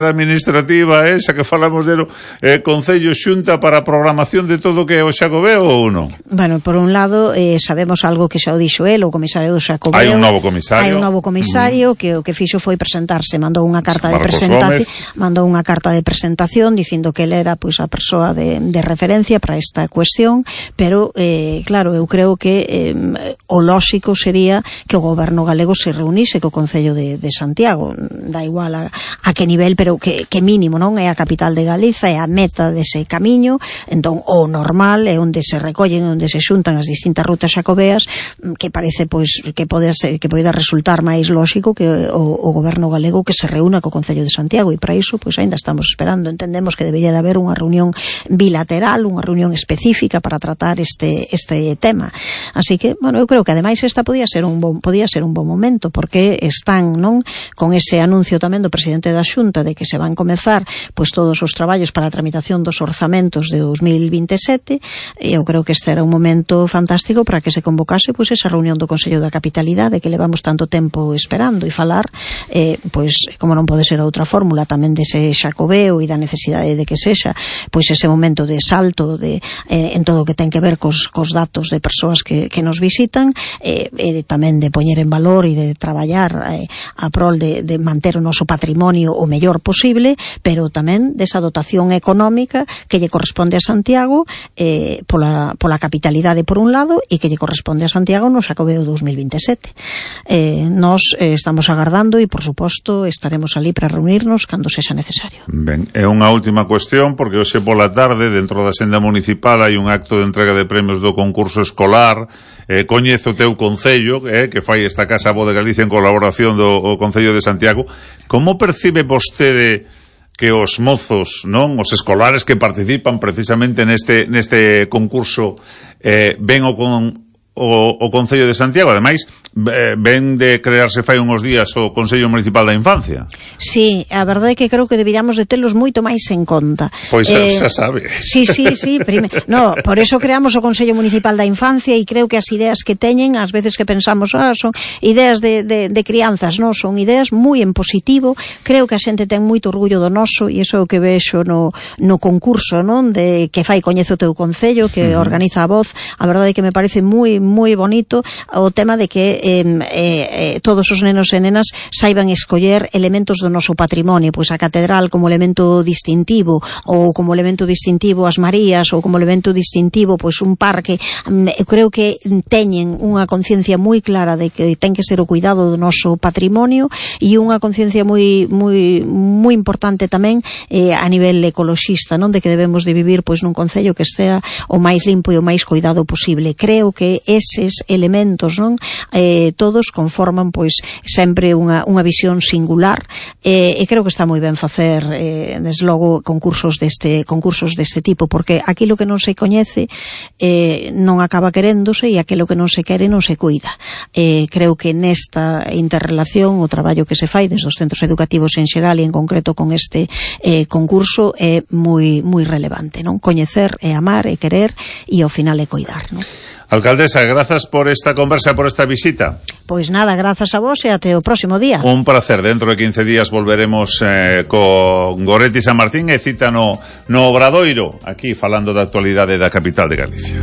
administrativa esa que falamos de Concello Xunta para a programación de todo o que é o Xacobeo ou non? Bueno, por un lado, sabemos algo que xa o dixo el, o comisario do Xacobeo. Hai un novo comisario. Que o que fixo foi presentarse, mandou unha carta de presentación dicindo que el era pois a persoa de referencia para esta cuestión, pero claro, eu creo que o lóxico sería que o goberno galego se reunise co Concello de Santiago, da igual a que nivel, pero que mínimo, non? É a capital de Galiza, é a meta dese camiño. Entón, o normal é onde se recollen, onde se xuntan as distintas rutas xacobeas, que parece pois que poida resultar máis lóxico que o goberno galego que se reúna co Concello de Santiago, e para iso pois aínda estamos esperando. Entendemos que debería de haber unha reunión bilateral, unha reunión específica para tratar este tema. Así que, bueno, eu creo que ademais esta podía ser un bon momento, porque están, non, con ese anuncio tamén do presidente da Xunta de que se van comezar pois todos os traballos para a tramitación dos orzamentos de 2027, e eu creo que este era un momento fantástico para que se convocase pois esa reunión do Consello da Capitalidade que levamos tanto tempo esperando, e falar pois, como non pode ser outra fórmula, tamén dese Xacobeo e da necesidade de que sexa pois ese momento de salto en todo o que ten que ver cos datos de persoas que nos visitan, e tamén de poñer en valor e de traballar a prol de manter o noso patrimonio o mellor posible, pero tamén desa dotación económica que lle corresponde a Santiago pola capitalidade por un lado, e que lle corresponde a Santiago no Xacobeo 2027. Nos estamos agardando e, por suposto, estaremos ali para reunirnos cando sexa necesario. Ben, é unha última cuestión, porque hoxe pola tarde, dentro da senda municipal, hai un acto de entrega de premios do concurso escolar. Coñezo o teu Concello, que fai esta Casa Bo de Galicia en colaboración do Concello de Santiago. Como percibe vostede que os mozos, non, os escolares que participan precisamente neste concurso ven o Concello de Santiago? Ademais, ven de crearse fai uns días o Consello Municipal da Infancia. Sí, a verdade é que creo que deberíamos de telos moito máis en conta. Pois xa sabe. Sí, no, por eso creamos o Consello Municipal da Infancia, e creo que as ideas que teñen, ás veces que pensamos, son ideas de crianzas, non, son ideas moi en positivo. Creo que a xente ten moito orgullo do noso, e iso é o que vexo no concurso, non, de que fai Coñezo o teu Concello, que organiza a Voz. A verdade é que me parece moi bonito o tema de que todos os nenos e nenas saiban escoller elementos do noso patrimonio, pois a catedral como elemento distintivo, ou como elemento distintivo as Marías, ou como elemento distintivo pois un parque. Eu creo que teñen unha conciencia moi clara de que ten que ser o cuidado do noso patrimonio, e unha conciencia moi importante tamén a nivel ecoloxista, non, de que debemos de vivir pois nun concello que estea o máis limpo e o máis cuidado posible. Creo que eses elementos, non, todos conforman pois sempre unha visión singular, e creo que está moi ben facer desde logo concursos deste tipo, porque aquilo que non se coñece non acaba queréndose, e aquilo que non se quere non se cuida. Creo que nesta interrelación o traballo que se fai desde os centros educativos en xeral, e en concreto con este concurso, é moi relevante, non? Coñecer e amar e querer, e ao final é coidar, non? Alcaldesa, grazas por esta conversa, por esta visita. Pois nada, grazas a vos, e até o próximo día. Un placer. Dentro de 15 días volveremos con Goretti San Martín, e cita no Obradoiro, aquí falando da actualidade da capital de Galicia.